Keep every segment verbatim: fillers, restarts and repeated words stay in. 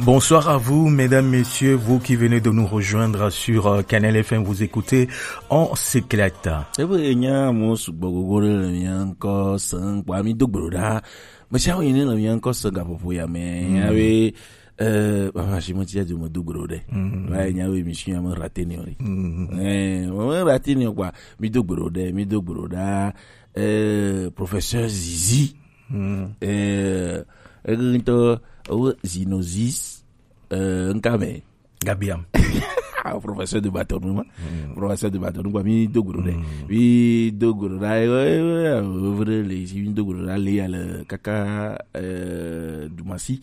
Bonsoir à vous, mesdames, messieurs, vous qui venez de nous rejoindre sur euh, Canal F M, vous écoutez, on s'éclate. Ebe enya mo sugbɔ gogo ɖe le mia ŋkɔ se ŋkpɔ ami do gblo ɖa. Mesi awo yine le mia ŋkɔ se gaƒoƒo ya me. Mm. Ya be, eh, papa si mo tia jo mo do gblo ɖe. Mm. Wa nya we mi si ya mo rate ni ori. Mm. Eh, mo rate ni kwa, mi do gblo ɖe, mi do gblo ɖa. Eh, professeur Zizi. Mm. Eh, ege ŋutɔ, wo Zinozis, eh, ŋka me. Gabiam. Ah, professeur de bâton, ma. Mm. Professeur de bâton, quoi, mi do guru de. Mm. Mi do guru da, eh, eh, eh, eh, le, si mi do guru da, le, ya le, kaka, eh, Dumasi.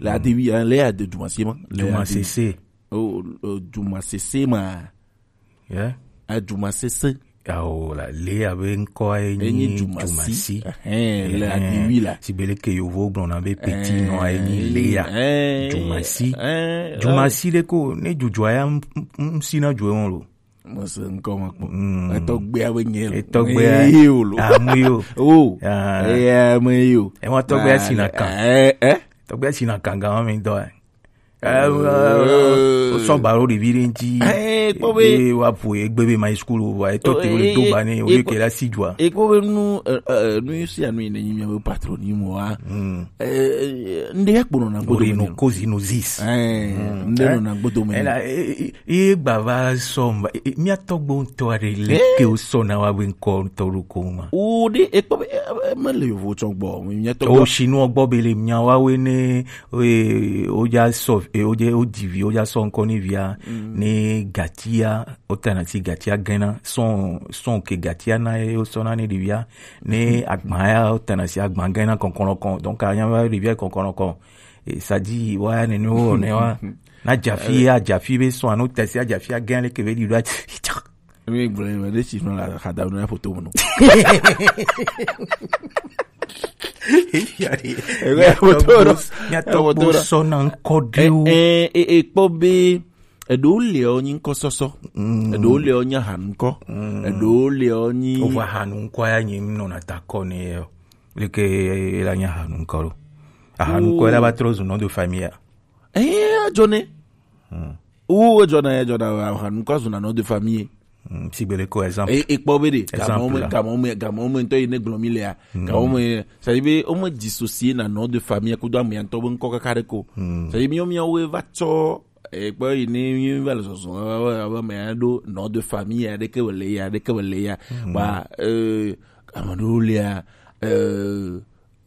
La de, oui, hein, le, ya de Dumasi, ma. Le, ya de Dumasi, c'est. Oh, oh, Dumasi, c'est, ma. Yeah. A Dumasi, c'est. Awo la, Lea be ŋkɔa ye nyi Dumasi. Dumasi. Ɛhɛn, le Ɛhɛn. Adiwi la. Si be leke yovo gblɔna be petit nɔa ye nyi Lea. Ɛhɛn. Dumasi. Ɛhɛn. Dumasi ɖe ko, ne dzudzɔa ya m-, m-, m-, si na dzɔe wɔn lo. Mo se ŋkɔ ma kpɔ. Mm. Etɔgbea be nye lo. Etɔgbea. Ye o lo. Amu yo. Oh. Ah. Eya me yo. Ema tɔgbea si na kan. Eh, eh. Tɔgbea si na kan gan mi dɔ. Eh, eh, eh, sɔ baro ɖevi ɖe ŋuti. Eh, kpɔ be. Eye wa ƒo egbe be ma yi school o, wa etɔ te wo le do ba ne, wo le ke la si dua. E kpɔ be nu, eh, eh, nu sia nu yi ne nyi mia be patronyme wa. Mm. Eh, eh, nde ya kpɔnɔ na godo Reno me. Kozi no zis. Eh, mm. Nde no na godo me. Ela, eh, eh, eh, gba va sɔ mba, eh, eh, mia tɔgbo ŋutɔ aɖe le ke wo sɔ na wa be ŋkɔ ŋutɔ ɖo ko ma. O de, e kpɔ be, eh, eh, me le yovo tsɔ gbɔ, mia tɔgbo. O sinu gbɔ be le mia wa we ne Oye, woja sɔ, eh, woje, wodi vi, woja sɔ ŋkɔ ne via, mm, ne gatia, wotana si gatia gɛna, sɔn, sɔn ke gatia na ye, wosɔna ne ɖevia, ne agba ya, wotana si agba gɛna kɔnkɔnɔ kɔn. Donc, anya be ɖevia kɔnkɔnɔ kɔn. Eh, ça dit, wa, ne, ne, wo, ne, wa. Na jafi, ya, jafi be sɔn, anu tasi, ajafi, agɛn, le ke be ɖi, ɖo, Mi gblɔ me ɖe si nɔ la xada nɔ ya foto me nɔ. Ebe ya foto ɖo. Mia tɔgbo sɔna ŋkɔ ɖewo. Eh, eh, eh, kpɔ be, eɖewo le ɔ nyi ŋkɔ sɔsɔ. Mm. Eɖewo le ɔ nyi ahanu ŋkɔ. Mm. Eɖewo le ɔ nyi. Wova ahanu ŋkɔ ya nyi nɔna ta kɔ ne yɔ. Leke la nyi ahanu ŋkɔ ɖo. Ahanu ŋkɔ la va trɔ zu nom de famille ya. Eh, edzɔ ne. Hmm. Wo edzɔna, edzɔna, ahanu ŋkɔ zuna nom de famille. Hmm, sigbe ɖe ko exemple. E, e kpɔ be ɖe, exemple gamɔme, la. Gamɔme, gamɔme ŋutɔ yi ne gblɔ mi lea. Hmm. Gamɔme, ça veut dire be, wome dissocier na nom de famille kudo ame ya ŋutɔ be ŋkɔ kaka ɖe ko. Hmm. Ça veut dire be, miawo miawo va tsɔ, e, kpɔ yi ne mi va le zɔzɔ, ava, ava, ava me ya ɖo nom de famille ya ɖeke be le ya, ɖeke be le ya. Hmm. Ba, euh, ame ɖewo lea, euh,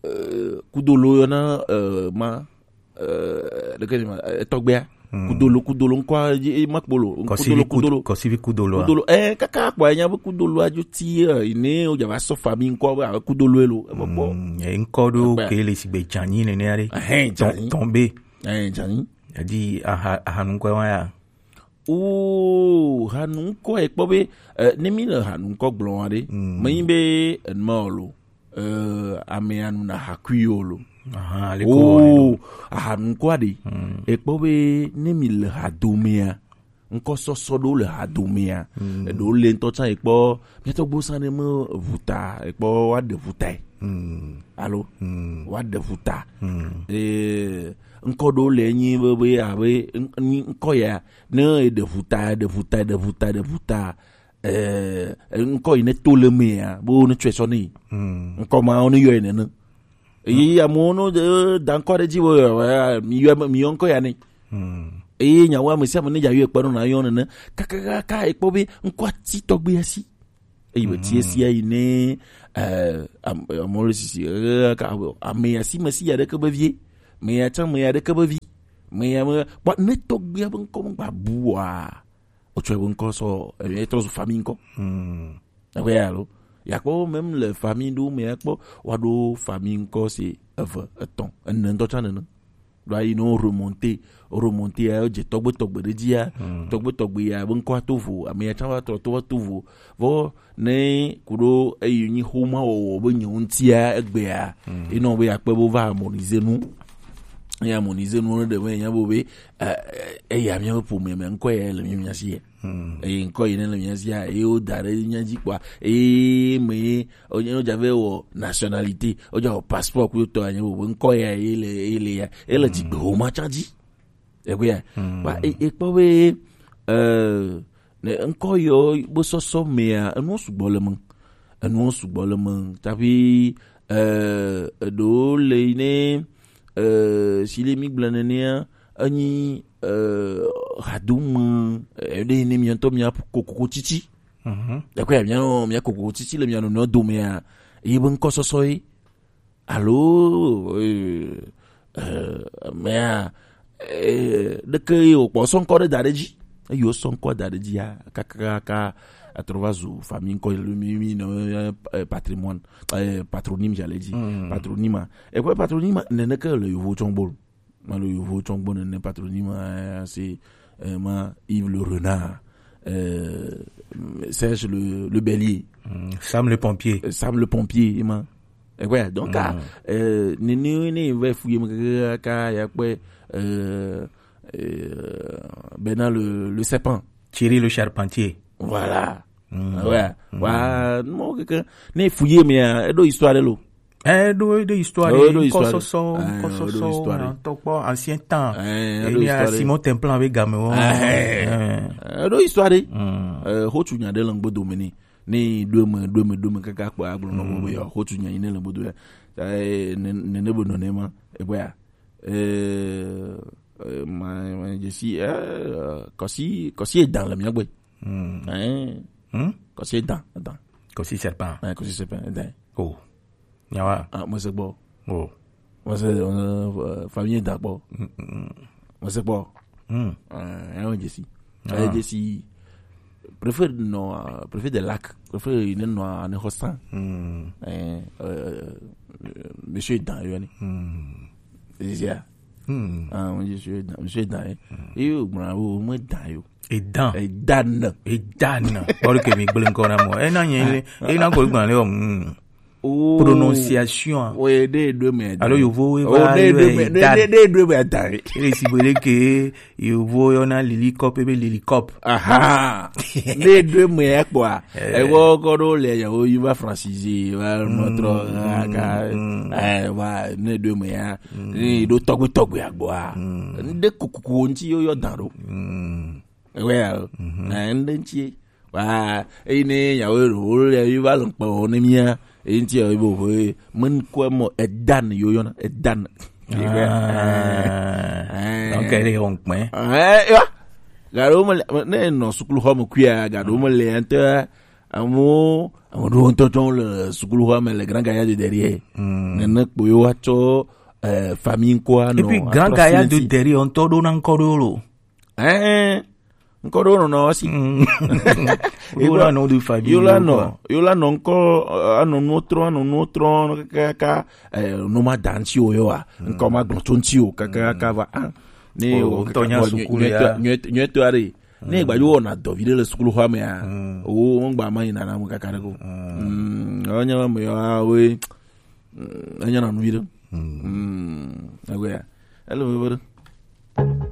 euh, kudolo yɔna, euh, ma, eh, ɖeke ni ma, eh, tɔgbea. Hmm. Kudolo, kudolo ŋkɔ, eh, ma kpolo. Kɔsivi kudolo, kud-, kudolo. Kɔsivi kudolo, ah. Kudolo, eh, kaka kpɔ, enya be kudolo adzo ti, eh, ne o dza va sɔ famille ŋkɔ be, ah, kudolo elo, eh, bɔ, bɔ. Hmm, eh, ŋkɔ ɖo ke le sigbe dzanyi nene aɖe. Ehɛn, dzanyi. Tɔn, tɔn be. Eh, dzanyi. Edi aha, aha ŋkɔ wa ya. Oo, hanu ŋkɔ ekpɔ be, eh, ne mi le hanu ŋkɔ gblɔ wa ɖe, mm, menyi be enuma o lo, eh, ame anu na hakui o lo. Aha, ale ko wɔ ne. Oo, hanu ŋkɔ aɖe, mm, ekpɔ be ne mi le hadomea, ŋkɔ sɔsɔ ɖewo le hadomea, mm, eɖewo le ŋutɔ tsã ekpɔ, miatɔ gbo sa ne me ʋuta, ekpɔ wa ɖe ʋuta yi. Mm. Alo? Mm. Wa ɖe ʋuta. Mm. Eh, ŋkɔ ɖewo le nyi be, be, abe, ŋ-, nyi ŋkɔ ya, ne eɖe ʋuta, ɖe ʋuta, ɖe ʋuta, ɖe ʋuta, eh, ŋkɔ yi ne to le mea, be wo ne tsɔe sɔ ne yi. Hmm. Ŋkɔ ma wo ne yɔe nene. Eye amewo no, eh, da ŋkɔ ɖe dzi be, eh, mi yɔ, mi yɔ ŋkɔ ya ne. Hmm. Eye nyawo ame sia ame ne dza yɔe kpe ɖo na yɔ nene. Kakakaka ekpɔ be ŋkɔ ati tɔgbe asi. Eyi be tie sia yi ne, eh, am-, amewo le sisi, eh, ka, ame ya si me si ya ɖeke be vie. Me ya tsã me ya ɖeke be vi. Me ya me, kpɔ ne tɔgbia be ŋkɔ me gba bua. Wotsɔe be ŋkɔ sɔ, eh, etrɔ zu famille ŋkɔ. Hmm. Eƒe ya lo. Ya kpɔ même le famille ɖewo me ya kpɔ, wa ɖo famille ŋkɔ si eve, etɔ̃, ene ŋutɔ tsã nene. Ɖo ayi ne wo remonter, wo remonter ya, wo dze tɔgbe tɔgbe ɖe dzi ya, hmm, tɔgbe tɔgbe ya be ŋkɔa to vo, ame ya tsã va trɔ to va to vo. Vɔ ne ku ɖo eyi nyi xoma wɔwɔ be nye ŋutia egbea, hmm, ye nɔ be akpe be wova harmoniser nu. Ye harmoniser nu ne ɖe be nya be, eh, eh, eya mía be ƒome me ŋkɔ ya le mía, mía si ya. Hmm. Eye ŋkɔ yi ne le mía sia, eye wo da ɖe mía dzi kpɔa, eye me ye, o, o dza vɛ wɔ nationalité, o dza wɔ passeport ku tɔ anye bo, ŋkɔ ya ye le, ye le ya, ele, hmm, dzigbe xoma tsã dzi. Egbea. Hmm. Wa e, e kpɔ be, eh, ne ŋkɔ yɔ be sɔsɔ mea, enuwo sugbɔ le me. Enuwo sugbɔ le me. Tapi, eh, eɖewo le yi ne, eh, si le mi gblɔ nenea, enyi, eh, hadome, eh, ɖe yi ne miawo ŋutɔ mia kokoko titi. Mhm. Egbea, mia, mia kokoko titi le mia nɔnɔewo domea, ye be ŋkɔ sɔsɔ ye. Alo, eh, eh, mea, eh, ɖeke ye wòkpɔ sɔ ŋkɔ ɖe da ɖe dzi. Eyi wosɔ ŋkɔ da ɖe dzia, kakakaka, atrɔ va zu famille ŋkɔ, le mi, mi, nɔ, eh, patrimoine, eh, patronyme, j'allais dire. Mm. Patronyme. Et puis patronyme, neneke le yovo tsɔngbo. Ma le yovo tsɔngbo nene patronyme, eh, c'est, eh, ma Yves le Renard, eh, Serge le, le Bélier. Mm. Sam le pompier. Eh, Sam le pompier, ma. Eh, ouais, donc, ah, euh, ni, ni, ni, va fouiller, mon gars, ka, ya quoi, euh, euh, Bernard le, le serpent. Thierry le charpentier. Voilà. Mm. Ah ouais. Mm. Wa, non, quelqu'un, ni fouiller, mais, euh, do histoire de l'eau. Eh, do, do histoire, eh, do histoire. Kɔsɔsɔ, eh, kɔsɔsɔ, do histoire. Tɔkpɔ, ancien temps. Eh, eh, do histoire. Simon Templan avec Gamewo. Eh, eh, do histoire. Mm. Euh, ho tu nya de langbo domini. Ni ɖo eme, ɖo eme, ɖo eme kaka kpɔ agblɔ nɔ, mm, be yɔ xotu nya yi ne le bodo ya. Ta, eh, ne, ne, ne be nɔ ne ma, e bɔya. Eh, eh, ma, ma, je suis, eh, kɔsi, kɔsi edan le mia gbɔ. Mm. Eh. Hmm? Kɔsi edan, edan. Kɔsi serpent. Eh, kɔsi serpent, edan. Oh. Nyawa. Ah, moi c'est bon. Oh. Moi c'est, euh, famille d'accord. Mm, mm, mm. Moi c'est bon. Mm. Euh, hein, je suis. Ah. Euh, je suis. Préfère non, euh, préfère des lacs. Préfère il est noir, en hostan. Mm. Euh, euh, monsieur est dans, il est. Mm. C'est ça. Hmm. Ah, monsieur est dans, monsieur est dans, hein. Hmm. Et yo, bravo, moi dans yo. Edan. Edan. Edan. Bɔri ke mi gblẽ ŋkɔ na mɔ. Ena nye le, ena ko gblẽ le o. Hmm. Oh. Prononciation. O ye de do me. Alo yovo we. Oh, va de do me. De, de do me da. Ele si bele ke yovo yɔ na lili kɔp, ebe lili kɔp. Aha. De do me kpɔ. Eh. Ewɔ kɔ ɖo le ya wo yi va francisé, va mɔtrɔ, mm, aka, mm, eh, va ne do me ya. Mm. Ne do tɔgbe tɔgbe agbɔa. Mm. Ne kuku ŋti yo yɔ dan ɖo. Mm. Ewe ya. Mhm. Eh, ne ŋti. Wa, eyi ne ya wo ro le yi va lɔ kpɔ ne mia. Eyi ŋti ya wo bo, eh, men ko mo edan yo yɔ na, edan. Ah. Eh. Donc, elle est en point. Eh, ya. Gaɖewo me le, ne nɔ sukluxɔ me kuia, gaɖewo me le ŋutɔ. Amewo, ame ɖewo ŋutɔ tsɔ le sukluxɔa me le Grand Gaillard de derrière. Hmm. Nene kpo yewo atsɔ, eh, famille ŋkɔa nɔ. Et puis Grand Gaillard de derrière ŋutɔ ɖo na ŋkɔ ɖewo lo. Ɛɛ, ŋkɔ ɖewo nɔnɔ si. Hmm. Ɖo na nɔ de famille yewo la nɔ, yewo la nɔ ŋkɔ, eh, anɔ nuwo trɔ, anɔ nuwo trɔ, kaka, eh, nu ma da ŋti o yewoa. Hmm. Ŋkɔ ma gblɔ tso ŋti o, kaka, kaka va, ah. Ne o ŋutɔ nya sukulu ya. Nyuie, nyuie, nyuie to are. Ne gbadzo wɔna dɔ vi ɖe le sukuluxɔa mea, mm, wo ŋgba ma yina na ame kaka ɖe ko. Mm. Mm, enya me ya we, mm, enya na nu vi ɖe. Mm. Mm, egoe ya. Ele veve ɖe.